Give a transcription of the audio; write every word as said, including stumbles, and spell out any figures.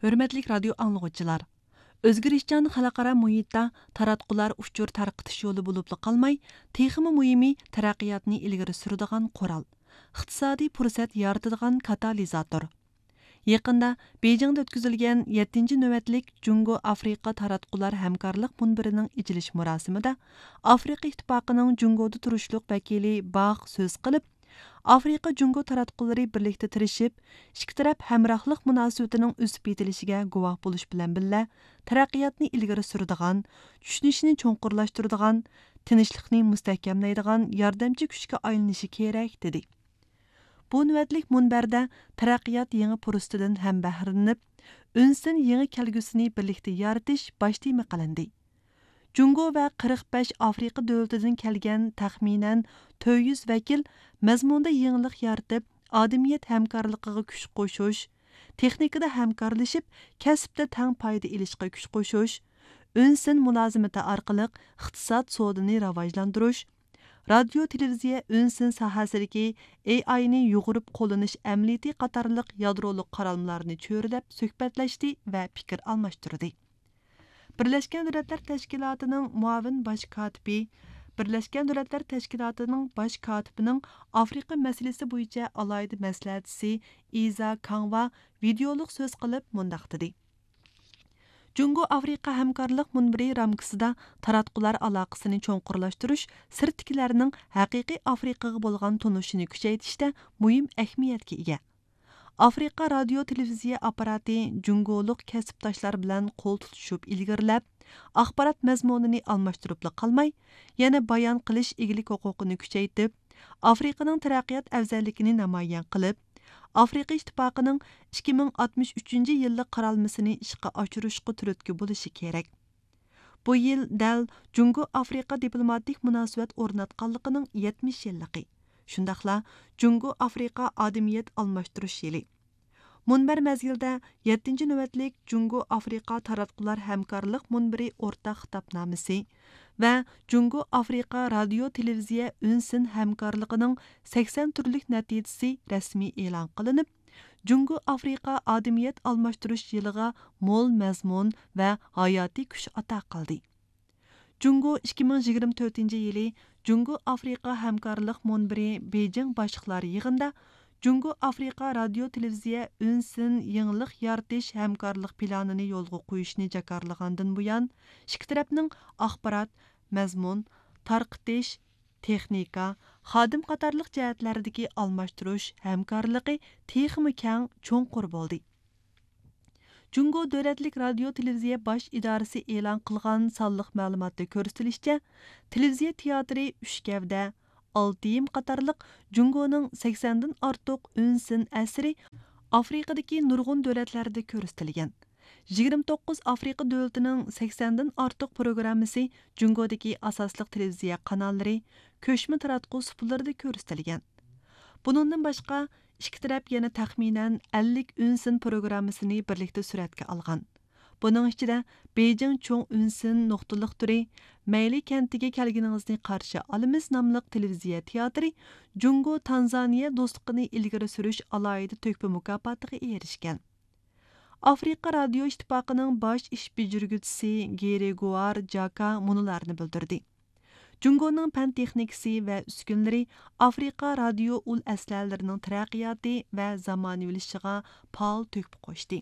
ھۆرمەتلىك رادىيو ئاڭلىغۇچىلار! ئۆزگىرىشچان خەلقئارا مۇھىتتا تاراتقۇلار ئۇچۇر تارقىتىش يولى بولۇپلا قالماي، تېخىمۇ مۇھىمى تەرەققىياتنى ئىلگىرى سۈرىدىغان قورال، ئىقتىسادىي پۇرسەت يارىتىدىغان كاتالىزاتور. يېقىندا بېيجىڭدا ئۆتكۈزۈلگەن يەتتىنچى نۆۋەتلىك جۇڭگو ئافرىقا تاراتقۇلار ھەمكارلىق مۇنبىرىنىڭ ئېچىلىش مۇراسىمىدا ئافرىقا ئىتتىپاقىنىڭ جۇڭگودا تۇرۇشلۇق ۋەكىلى باخ سۆز قىلىپ، ئافرىقا جۇڭگو تاراتقۇلىرى بىرلىكتە تىرىشىپ، ئىككى تەرەپ ھەمراھلىق مۇناسىۋىتىنىڭ ئۆسۈپ يېتىلىشىگە گۇۋاھ بولۇش بىلەن بىللە، تەرەققىياتنى ئىلگىرى سۈرىدىغان، چۈشىنىشنى چوڭقۇرلاشتۇرىدىغان، تىنچلىقنى مۇستەھكەملەيدىغان ياردەمچى كۈچكە ئايلىنىشى كېرەك، دېدى. بۇ نۆۋەتلىك مۇنبەردە تەرەققىيات يېڭى پۇرسىتىدىن ھەم بەھرىلىنىپ، ئۈنسىن يېڭى كەلگۈسىنى بىرلىكتە يارىتىش باش تېما قىلىندى. جۇڭگو ۋە قىرىق بەش ئافرىقا دۆلىتىدىن كەلگەن تەخمىنەن تۆت يۈز ۋەكىل مەزمۇندا يېڭىلىق يارىتىپ، ئادەمىيەت ھەمكارلىقىغا كۈچ قوشۇش، تېخنىكىدا ھەمكارلىشىپ، كەسىپتە تەڭ پايدا ئېلىشقا كۈچ قوشۇش، ئۈنسىن مۇلازىمىتى ئارقىلىق ئىقتىساد سودىنى راۋاجلاندۇرۇش، رادىيو تېلېۋىزىيە ئۈنسىن ساھەسىدىكى ئېي ئاينى يۇغۇرۇپ قوللىنىش ئەمەلىيىتى قاتارلىق يادرولۇق قارالمىلارنى چۆرىدەپ سۆھبەتلەشتى ۋە پىكىر ئالماشتۇردى. بىرلەشكەن دۆلەتلەر تەشكىلاتىنىڭ مۇئاۋىن باش كاتىپى، بىرلەشكەن دۆلەتلەر تەشكىلاتىنىڭ باش كاتىپىنىڭ ئافرىقا مەسىلىسى بويىچە ئالاھىدە مەسلىھەتچىسى ئىزا كاڭۋا ۋىدېئولۇق سۆز قىلىپ مۇنداق دېدى: جۇڭگو ئافرىقا ھەمكارلىق مۇنبىرى رامكىسىدا تاراتقۇلار ئالاقىسىنى چوڭقۇرلاشتۇرۇش سىرتتىكىلەرنىڭ ھەقىقىي ئافرىقىغا بولغان تونۇشىنى كۈچەيتىشتە مۇھىم ئەھمىيەتكە ئىگە. ئافرىقا رادىيو تېلېۋىزىيە ئاپپاراتى جۇڭگولۇق كەسىپداشلار بىلەن قول تۇتۇشۇپ ئىلگىرىلەپ، ئاخبارات مەزمۇنىنى ئالماشتۇرۇپلا قالماي، يەنە بايان قىلىش ئىگىلىك ھوقۇقىنى كۈچەيتىپ، ئافرىقىنىڭ تەرەققىيات ئەۋزەللىكىنى نامايان قىلىپ، ئافرىقا ئىتتىپاقىنىڭ ئىككى مىڭ ئاتمىش ئۈچىنچى يىللىق قارالمىسىنى ئىشقا ئاشۇرۇشقا تۈرتكە بولۇشى كېرەك. بۇ يىل دەل جۇڭگو ئافرىقا دىپلوماتىك مۇناسىۋەت ئورناتقانلىقىنىڭ يەتمىش يىللىقى، شۇنداقلا جۇڭگو ئافرىقا ئادەمىيەت ئالماشتۇرۇش يىلى. مۇنبەر مەزگىلىدە يەتتىنچى نۆۋەتلىك جۇڭگو ئافرىقا تاراتقۇلار ھەمكارلىق مۇنبىرى ئورتاق خىتابنامىسى ۋە جۇڭگو ئافرىقا رادىيو تېلېۋىزىيە ئۈنسىن ھەمكارلىقىنىڭ سەكسەن تۈرلۈك نەتىجىسى رەسمىي ئېلان قىلىنىپ، جۇڭگو ئافرىقا ئادەمىيەت ئالماشتۇرۇش يىلىغا مول مەزمۇن ۋە ھاياتىي كۈچ ئاتا قىلدى. جۇڭگو ئىككى مىڭ يىگىرمە تۆتىنچى يىلى جۇڭگو ئافرىقا ھەمكارلىق مۇنبىرى بېيجىڭ باشلىقلار يىغىنىدا جۇڭگو ئافرىقا رادىيو تېلېۋىزىيە ئۈنسىن يېڭىلىق يارىتىش ھەمكارلىق پىلانىنى يولغا قويۇشنى جاكارلىغاندىن بۇيان، ئىككى تەرەپنىڭ ئاخبارات، مەزمۇن، تارقىتىش، تېخنىكا، خادىم قاتارلىق جەھەتلەردىكى ئالماشتۇرۇش ھەمكارلىقى تېخىمۇ كەڭ، چوڭقۇر بولدى. جۇڭگو دۆلەتلىك رادىيو تېلېۋىزىيە باش ئىدارىسى ئېلان قىلغان سانلىق مەلۇماتتا كۆرسىتىلىشىچە، تېلېۋىزىيە تىياتىرى ئۈچ گەۋدە، ئالتە يىم قاتارلىق جۇڭگونىڭ سەكسەندىن ئارتۇق ئۈنسىن ئەسىرى ئافرىقىدىكى نۇرغۇن دۆلەتلەردە كۆرسىتىلگەن. يىگىرمە توققۇز ئافرىقا دۆلىتىنىڭ سەكسەندىن ئارتۇق پروگراممىسى جۇڭگودىكى ئاساسلىق تېلېۋىزىيە قاناللىرى، كۆچمە تاراتقۇ سۇپىلىرىدا كۆرسىتىلگەن. بۇنىڭدىن باشقا، ئىككى تەرەپ يەنە تەخمىنەن ئەللىك ئۈنسىن پروگراممىسىنى بىرلىكتە سۈرەتكە ئالغان. بۇنىڭ ئىچىدە بېيجىڭ چوڭ ئۈنسىن نۇقتىلىق تۈرى، مەيلى كەنتىگە كەلگىنىڭىزنى قارشى ئالىمىز ناملىق تېلېۋىزىيە تىياتىرى جۇڭگو تانزانىيە دوستلۇقىنى ئىلگىرى سۈرۈش ئالاھىدە تۆھپە مۇكاپاتىغا ئېرىشكەن. ئافرىقا رادىيو ئىتتىپاقىنىڭ باش ئىش بېجىرگۈچىسى گېرىگوئار جاكا مۇنۇلارنى بىلدۈردى: جۇڭگونىڭ پەن تېخنىكىسى ۋە ئۈسكۈنىلىرى ئافرىقا رادىيو ئۇل ئەسلىھەلىرىنىڭ تەرەققىياتى ۋە زامانىۋىلىشىشىغا پائال تۆھپە قوشتى.